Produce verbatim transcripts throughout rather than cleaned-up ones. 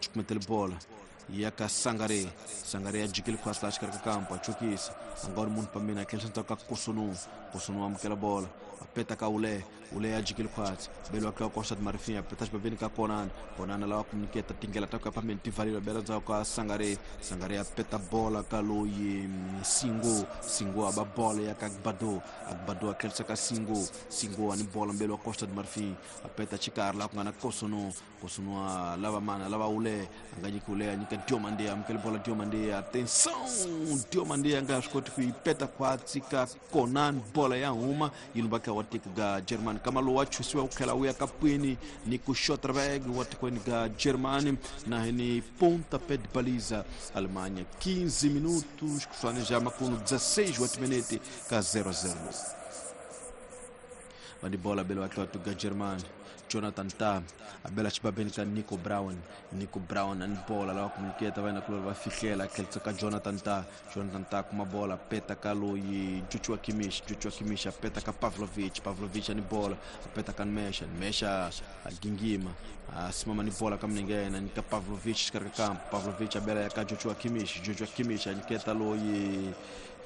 cukumetele bola ya ka Sangare. Sangare ya jikile khwasi laha xikarhi ka kampo a chukisa a nga ri munhu pambeni a tlhelisa ndzhaku ka Kosunu. Kosunu amukela bola a peta ka Ule. Ule ya jikile khwasi belo ka Costa de Marfim a peta xibabeni ka Konan. Konan lava ku nyiketa tindlela ta ku ya phambeni ti pfaleriwa bela ndzhaku ka Sangare. Sangare ya peta bola ka loyi Singo. Singo a ba bola ya ka Agbado. Agbado a tlhelisa ka Singo. Singo a ni bola mbelo wa Costa de Marfim a peta xikarhi laha ku nga na Kosunu. Kosunu a lava mana a lava Ule a nga nyiki Ule a nyika Diomande amukela bola Diomande. Atenção, Diomande a nga swi koti ku yi peta khwatsi ka Konan. Bola ya huma yi lumba ka wa tiko ga Germany. Kama lowu wa chusiwa ku tlhela wu ya ka pwini ni ku Schotterberg wa tikweni ga Germany na hi ni pontapé de baliza Alemanha. quinze minutos kusuhani ja makuno dezesseis wa timinete ka zero a zero. Vani bola belo wa tatu ga Germany. Jonathan Tah abela xibabeni ka Nico Brown. Nico Brown ani bola lava ku nyiketa va yena kulori va fihlela tlhelisa ka Jonathan Tah. Jonathan Tah kuma bola peta ka loyi Joshua Kimmich. Joshua Kimmich a peta ka Pavlovic. Pavlovic ani bola a peta ka Nmesha. Nmesha a gingima a simama ni bola ka milenge ya yena nyika Pavlovic xikarhi ka kampo. Pavlovic abela ya ka Joshua Kimmich. Joshua Kimmich a nyiketa loyi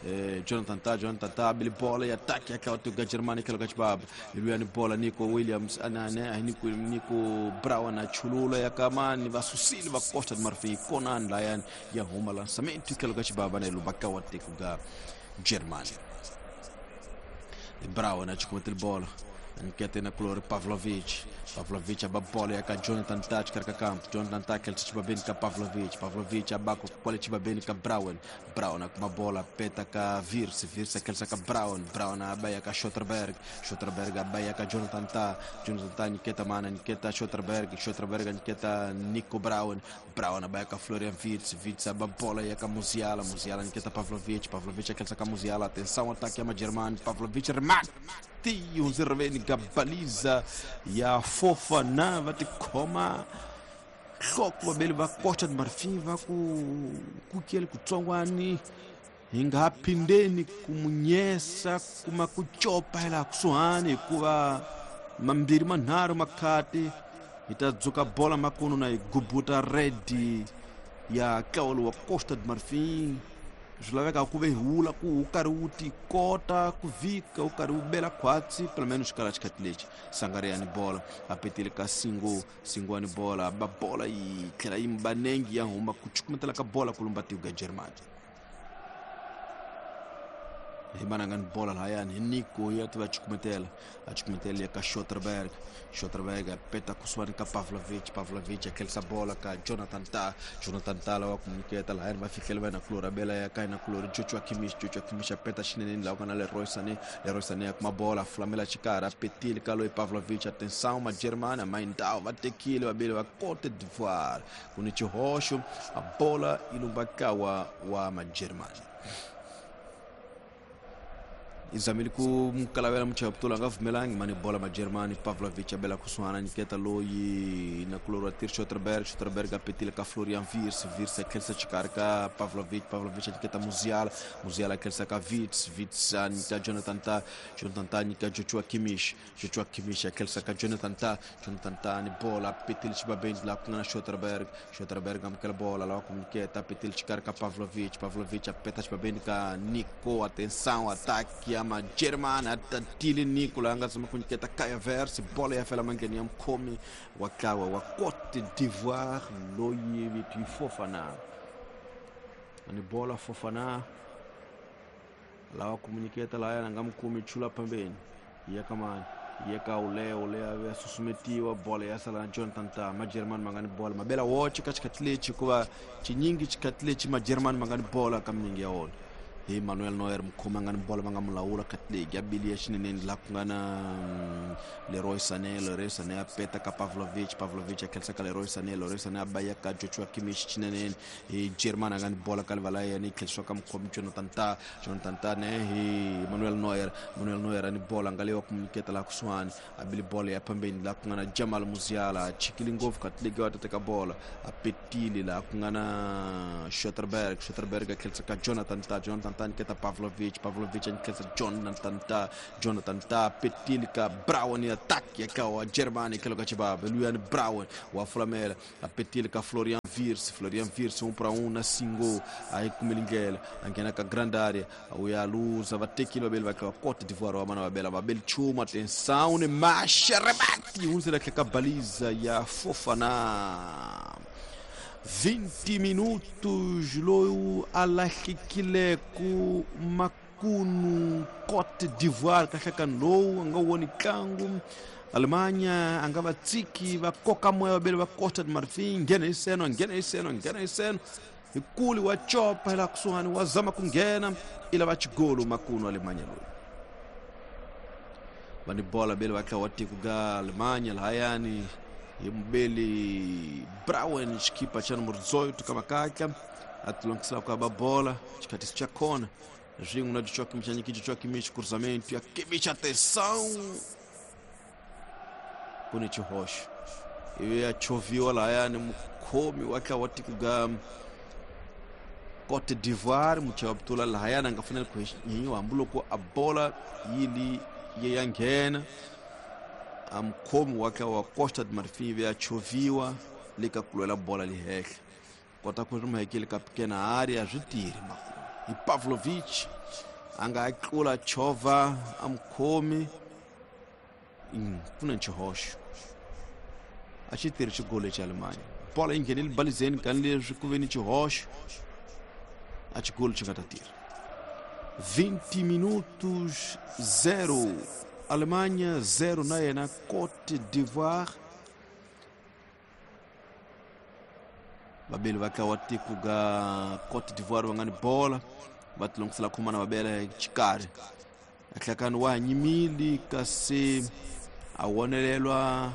Eh, Jonathan Tah. Jonathan Tah abili bola ya ataki ya ka Germany tlhelo ka xibaba iluya ni bola Nico Williams anane Nico Nico Brown a chulula ya kamani va susile va Costa de Marfim. Konan layani ya huma lançamento tlhelo ka xibaba na ilumba ka wa tiko ga Germany. Brown a chukumetele bola anyikete na kulori Pavlovic. Pavlovic aba bola ya ka Jonathan Tah xikarhi ka kampo. Jonathan Tah tlhelisa xibabeni ka Pavlovic. Pavlovic aba kwale xibabeni ka Brown. Brown a kuma bola peta ka Wirtz. Wirtz a tlhelisa ka Brown. Brown aba ya ka Schotterberg. Schotterberg aba ya ka Jonathan Tah. Jonathan Tah nyiketa mana nyiketa Schotterberg. Schotterberg nyiketa Nico Brown. Brown aba ya ka Florian Wirtz. Wirtz aba bola ya ka Musiala. Musiala nyiketa Pavlovic. Pavlovic a tlhelisa ka Musiala. Atenção, ataque ya Magermani. Pavlovic remate hundzeriveni ka baliza ya Fofana. Va tikhoma nhloko vaveli va Costa de Marfim va ku kukeli kutsongwani hi nga phindeni ku munyesa kuma ku copa hi laha kusuhani hikuva mambirhi manharhu makhati hi ta dzuka bola makunu na hi gubuta redi ya ntlawa lowu wa Costa de Marfim. Swi laveka ku ve hi wula ku wu karhi wu ti kota ku vhika wu karhi wu bela khwatsi pelo menos xikala xikhathi lexi. Sangare ya ni bola a petile ka Singo. Singo ya ni bola ba bola yi tlhela yi mbanengi ya huma ku cukumetela ka bola ku lumba tiko ga Germany. Hi mananga ni bola lahayani hi Nico ya tiva cukumetela a cukumetela ya ka Schotterberg. Schotterberg a peta kusuhani ka Pavlovic. Pavlovic a tlhelisa bola ka Jonathan Tah. Jonathan Tah lava ku nyiketa lahayani va fihlela va yena kulori a bela ya ka yena kulori Joshua Kimmich. Joshua Kimmich a peta xineneni laha ku nga na Leroy Sané. Leroy Sané a kuma bola a fulamela xikarhi a petile ka loyi Pavlovic. Atenção, Magermani a Maindao va tekile vabeli va Cote d'Ivoire ku ni xihoxo a bola yi lumba kawa wa Magermani. Izamile ku mukalavela muchaputula nga vumelangi mani bola Magermani. Pavlovic abela kusuhana nyiketa loyi na kulori wa tir Schotterberg. Schotterberg a petile ka Florian Wirtz. Wirtz a tlhelisa xikarhi ka Pavlovic. Pavlovic a nyiketa Musiala. Musiala a tlhelisa ka Wirtz. Wirtz a nyika Jonathan Tah. Jonathan Tah nyika Joshua Kimmich. Joshua Kimmich a tlhelisa ka Jonathan Tah. Jonathan Tah ni bola a petile xibabeni laha ku nga na Schotterberg. Schotterberg amukela bola lava ku nyiketa a petile xikarhi ka Pavlovic. Pavlovic a peta xibabeni ka Nico. Atenção, ataque ya Magermani a tatile Nico laha nga tshama ku nyiketa Kai Havertz. Bola ya fela mangheni ya mukhomi wa ntlawa wa Cote d'Ivoire loyi vito yi Fofana. Ani bola Fofana lava ku nyiketa lahayani a nga mukumi chula phambeni ya ka mani ya ka Ule. Ule a ya susumetiwa bola ya sala na Jonathan Tah. Magermani ma nga ni bola mabela woxe ka xikhathi lexi hikuva xinyingi xikhathi lexi Magermani ma nga ni bola ka milenge ya wona. Hi Manuel Neuer mukhomi a nga ni bola va nga mu lawula khathi ya bili ya xineneni laha ku nga na Leroy Sané. Leroy Sané a peta ka Pavlovic. Pavlovic a tlhelisa ka Leroy Sané. Leroy Sané a ba ya ka Joshua Kimmich xineneni. Hi Germany a nga ni bola ka livala ya yena yi tlhelisiwa ka mukhomi Jonathan Tah. Jonathan Tah ne hi Manuel Neuer. Manuel Neuer a ni bola nga leyi wa ku nyiketa laha kusuhani a bili bola ya phambeni laha ku nga na Jamal Musiala. A chikile ngopfu khathi leyi wa ta teka bola a petile laha ku nga na Schotterberg. Schotterberg a tlhelisa ka Jonathan Tah. Jonathan Tah nyiketa Pavlovic. Pavlovic a nyiketa Jonathan Tah. Jonathan Tah petile ka Brown ya attack ya ka wa Germany tlhelo ka xibaba luyani Brown wa fulamela a petile ka Florian Wirtz, Florian Wirtz um para um na single aí kumilingela angena ka grande área uyaluza vatekile vabeli va ka Cote d'Ivoire wa mana vabela vabeli chuma atenção ne marcha rebate unzela ka baliza ya Fofana. vinte minutos loyo alahlekile ku makunu Cote d'Ivoire kahlekani lowu a nga woni ntlangu. Alemanha a nga va tsiki va koka moya vabeli va Costa de Marfim nghena hi seno nghena hi seno nghena hi seno hi kuli wa chopa hi laha kusuhani wa zama ku nghena i lava xigolo makunu Alemanha loyi va ni bola beli va tlha wa tiko ga Alemanha lahayani hi mubeli Brown xikipa xa numero dezoito ka makatla a tilongisela ku aba bola xikhatisi xa kona swin'we na Joshua Kimmich a nyiki Joshua Kimmich cruzamento ya Kimmich atenção ku ni xihoxo ivi ya choviwa lahayani mukhomi wa tla wa tiko ga Cote d'Ivoire muchava butula lahayani a nga fanele ku nyenyiwa hambiloko a bola yi li yi ya nghena a mukhomi wa tla wa Costa de Marfim ivi ya choviwa le ka ku lwela bola lihehla kota ku ri muhekeli ka pikena area swi tirhi makulu hi Pavlovic a nga tlula chova a mukhomi ku na xihoxo a xi tirhi xigolo xa Alemanha bola yi nghenile balizeni kani leswi ku ve ni xihoxo a xigolo xi nga ta tirha. vinte minutos zero Alemanha zero na yena Cote d'Ivoire. Vabeli va tla wa tiko ga Cote d'Ivoire va nga ni bola va tilongisela khomana va bela xikarhi ahlakani wa nyimili kasi a wonelelwa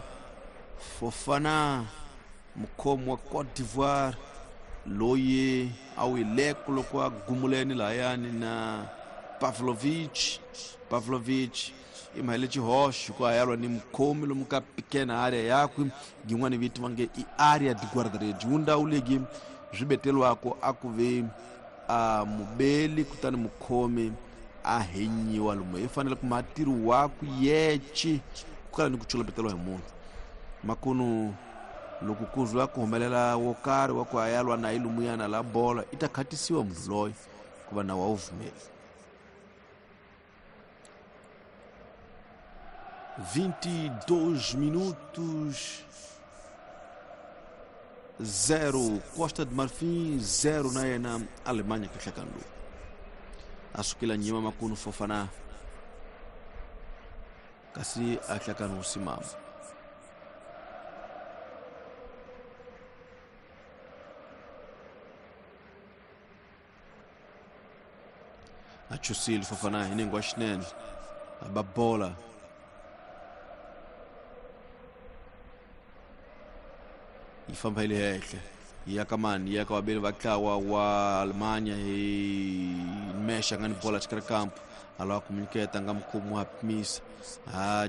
Fofana mukhomi wa Cote d'Ivoire loyi a wileko loko a gumuleni lahayani na Pavlovic. Pavlovic i mahele xihoxo ku a yalwa ni mukhomi lomu ka pikena area yakwe yin'wana vito va nge i area de guarda-redes wu ndhawu leyi swi beteriwaka a ku ve a mubeli kutani mukhomi a henyiwa lomu i fanele ku matirhi waku yece ku kala ni ku chulapeteriwa hi munhu makunu loko ku zwa ku humelela wo karhi wa ku a yalwa na ilumuyana la bola i ta khatisiwa munhu loyi ku va nawu a wu vumeli. vinte e dois minutos zero Costa de Marfim zero na yena Alemanha kahlekani lowu a sukela nyima makunu Fofana kasi a hlakani wu simama. A chusile Fofana hi nengwa xinene a ba bola yi famba hi le henhla yi ya ka mani yi ya ka vabeli va ntlawa wa Alemanha hi Mesha nga ni bola xikarhi kampo a lava ku nyiketa nga mukhomi wa pimisa a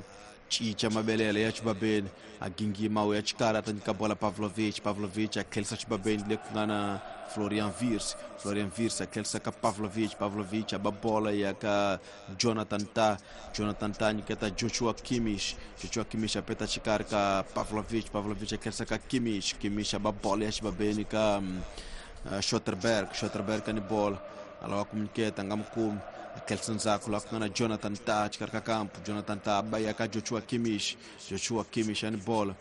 cinca mabelele ya xibabeni a gingima u ya xikarhi a ta nyika bola Pavlovic. Pavlovic a tlherisa xibabeni le ku nga na Florian Wirtz. Florian Wirtz a tlherisa ka Pavlovic. Pavlovic a ba bola ya ka Jonathan Tah. Jonathan Tah nyiketa Joshua Kimmich. Joshua Kimmich a peta xikarhi ka Pavlovic. Pavlovic a tlherisa ka Kimmich. Kimmich a ba bola ya xibabeni ka um, uh, Schotterberg. Schotterberg a ni bola a lava ku nyiketa nga mukumi a tlherisa ndzhaku laha ku nga na Jonathan Tah xikarhi ka kampo. Jonathan Tah ba ya ka Joshua Kimmich. Joshua Kimmich a ni bola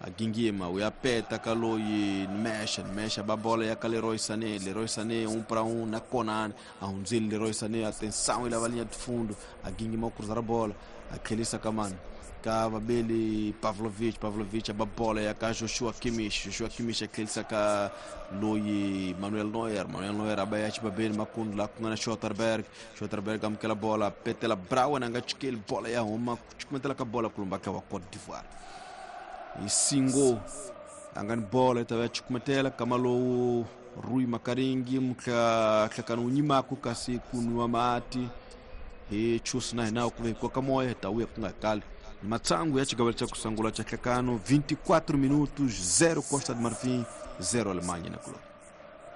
a gingima u ya peta ka loyi Mesha. Mesha ba bola ya ka Leroy Sané. Leroy Sané um para um na Conan a hundzile Leroy Sané atenção i lava linha de fundo a gingima u cruzar a bola a tlherisa ka mani ka vabeli Pavlovic. Pavlovic a ba bola ya ka Joshua Kimmich. Joshua Kimmich a tlherisa ka loyi Manuel Neuer. Manuel Neuer a ba ya xibabeni makundu laha ku nga na Schotterberg. Schotterberg amukela bola petela Brown a nga chikeli bola ya huma ku cukumetela ka bola kulumba ka wa Cote d'Ivoire hi singo a nga ni bola yi ta va ya cukumetela kama lowu Rui Makaringi muhlakani wu nyimaku kasi ku nwiwa mati hi chusi na hina ku ve hi koka moya hi ta vuya ku nga kali. Matsangu ya xigavelo xa ku sungula xa nhlekano vinte e quatro minutos zero Costa de Marfim zero Alemanha na kuloni.